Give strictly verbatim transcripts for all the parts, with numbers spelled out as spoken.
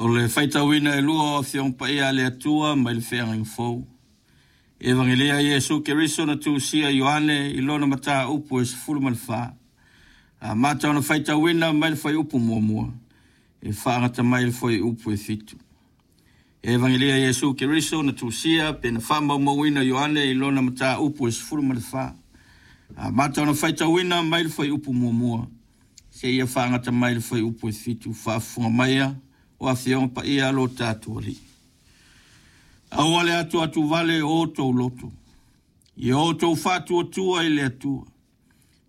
O le faitauina e lua o Afioga Paia a le Atua mai le Feagaiga Fou. Evangelia Iesu Keriso na tusia Ioane i lona mataupu e sefulu ma le fa. Amata ona faitauina mai le fuaiupu muamua e faagata mai le fuaiupu e fitu. Evangelia Iesu Keriso na tusia pe na faamaumauina Ioane i lona mataupu e sefulu ma le fa. Amata ona faitauina mai le fuaiupu muamua seia faagata mai le fuaiupu e fitu. Faafofoga maia o Afioga Paia a lo tatou Alii. Aua le atu atu vale o outou loto, ia outou faatuatua i le Atua,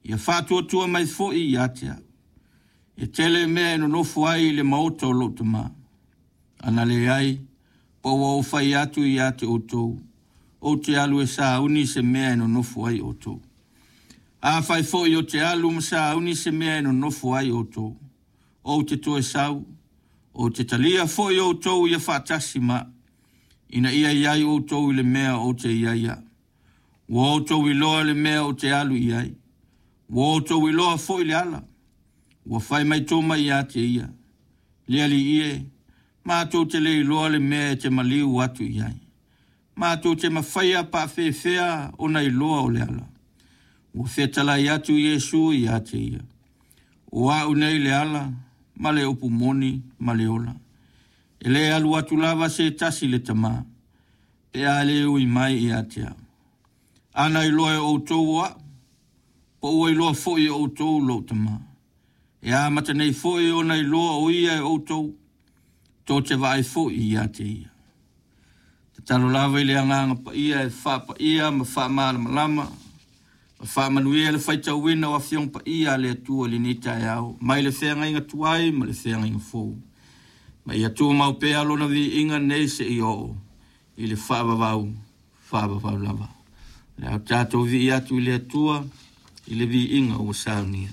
ia faatuatua mai foi ia te au. E tele mea e nonofo ai i le maota o lou Tama. Ana leai, po ua ou fai atu ia te outou, ou te alu e sauni se mea e nonofo ai outou. Afai foi ou te alu ma sauni se mea e nonofo ai outou, ou te toe sau, ou te talia foi outou ia faatasi ma, ina ia iai outou i le mea ou te iai au. Ua outou iloa le mea ou te alu i ai, ua outou iloa foi le ala. Ua fai mai Toma ia te ia, le Alii e, matou te le iloa le mea e te maliu atu i ai. Matou te mafaia paafefea ona iloa o le ala. Ua fetalai atu Iesu ia te ia, o au nei le ala, ma le upu moni ma le ola. E le alu atu lava se tasi le Tama, pe a le ui mai ia te au. Ana iloa e outou o au, po ua iloa foi e outou lou Tama. E amata nei foi ona iloa o ia e outou, tou te vaai foi ia te ia. Tatalo lava i le Agaga Paia e faapaia ma faamalamalama, ma faamanuia le faitauina o Afioga Paia a le Atua i lenei taeao, mai le feagaiga tuai ma le feagaiga fou. Ma ia tumau pea lona viiga nei seia oo i le faavavau, faavavau lava. Le a tatou vii atu i le Atua i le viiga ua saunia.